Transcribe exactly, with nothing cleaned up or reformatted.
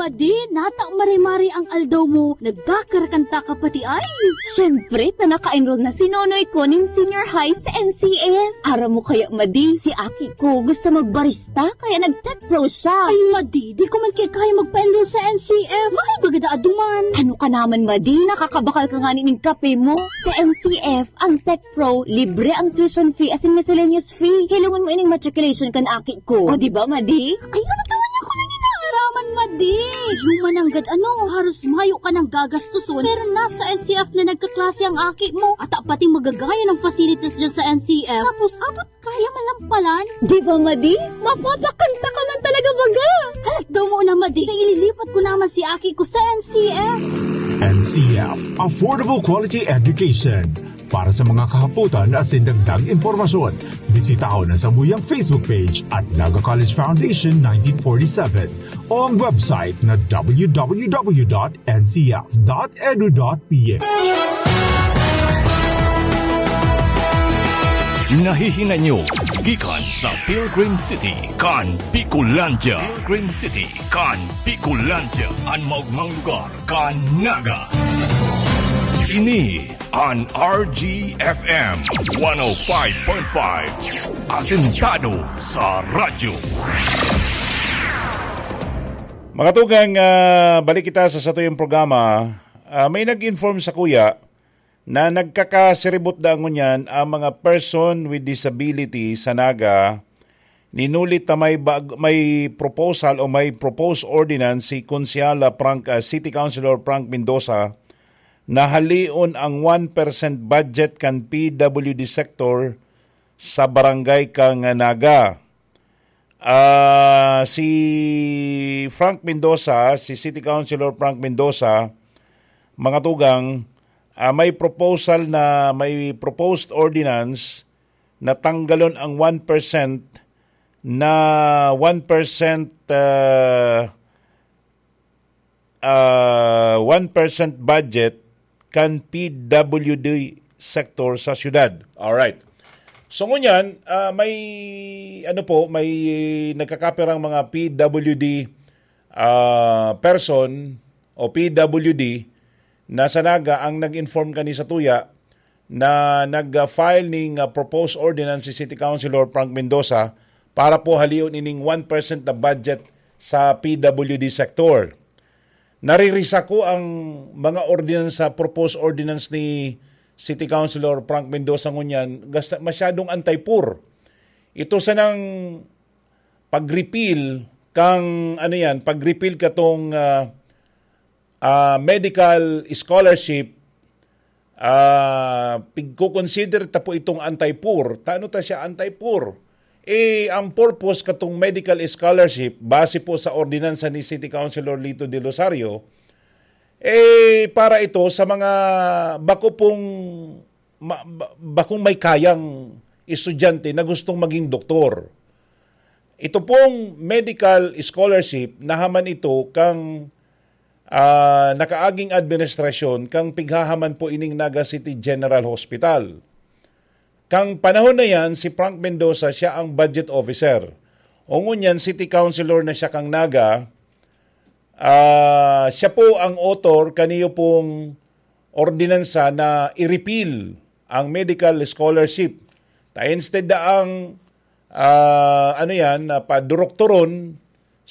Adi, nata mare-mare ang aldaw mo, nagkakarakanta ka pati ay. Siyempre, ta naka-enroll na si Nonoy ko nin senior high sa N C F. Aram mo kaya, Madi, si aki ko gusto magbarista, kaya nag-tech pro siya. Ay, Madi, di ko man kaya magpa-enroll sa N C F. Mahal baga daa duman. Ano ka naman, Madi? Nakakabakal ka nga nin kape mo. Sa N C F, ang tech pro, libre ang tuition fee asin miscellaneous fee. Hilongon mo ining matriculation kan aki ko. O, di ba, Madi? Ay, ano ka man ako nang inaaraman, Madi? Yung mananggad, ano, haros mayo ka nang gagastuson. Pero nasa N C F na nagkaklase ang aki mo. At pati magagaya ng facilities dyan sa N C F. Tapos, abot kaya malampalan. Di ba, Madi? Mapapakanta ka man talaga, baga! Halat daw mo na, Madi. Ililipat ko naman si aki ko sa N C F. N C F, Affordable Quality Education. Para sa mga kahapotan asin dagdag impormasyon, bisitahon ang samuyang Facebook page at Naga College Foundation nineteen forty-seven o ang website na w w w dot n c f dot edu dot p h. Nahihinay nyo gikan sa Pilgrim City kan Bicolandia. Pilgrim City kan Bicolandia, an maogmang lugar kan Naga. Ini an R G F M one oh five point five, asentado sa radyo. Mga tugang, ah, balik kita sa satuyang programa. Ah, may nag-inform sa kuya na nagkakasiribot da ngunyan ang mga person with disability sa Naga. Ninulit na may bag-, may proposal o may proposed ordinance si Konsehala Frank, ah, City Councilor Frank Mendoza na halion ang one percent budget kan P W D sector sa barangay kan Naga. Ah, si Frank Mendoza, si City Councilor Frank Mendoza, mga tugang, ah, may proposal na, may proposed ordinance na tanggalon ang one percent na one percent, ah, ah, one percent budget kan P W D sector sa syudad. Alright. So ngunyan, ah, may, ano po, may nagkakapirang mga P W D, ah, person o P W D na sa Naga ang nag-inform kani sa tuya na nag-file ning, ah, proposed ordinance si City Councilor Frank Mendoza para po halion ining one percent na budget sa P W D sector. Naririsa ko ang mga ordinansa, proposed ordinance ni City Councilor Frank Mendoza ngunyan, gasta-, masyadong anti-poor. Ito sanang pag-repeal kang, ano yan, pag-repeal katong, ah, ah, medical scholarship, ah, pigko-consider ta po itong anti-poor. Tano ta siya anti-poor? Eh, ang purpose katong medical scholarship, base po sa ordinansa ni City Councilor Lito De Rosario, eh, para ito sa mga bako pong ma-, ba-, bakong may kayang estudyante na gustong maging doktor. Ito pong medical scholarship, nahaman ito kang, ah, nakaaging administrasyon kang pighahaman po ining Naga City General Hospital. Kang panahon na yan, si Frank Mendoza, siya ang budget officer. O ngunyan, city councilor na siya kang Naga, ah, siya po ang author kaniyo pong ordinansa na i-repeal ang medical scholarship. Ta instead na ang, ah, ano yan, na paduroktoron,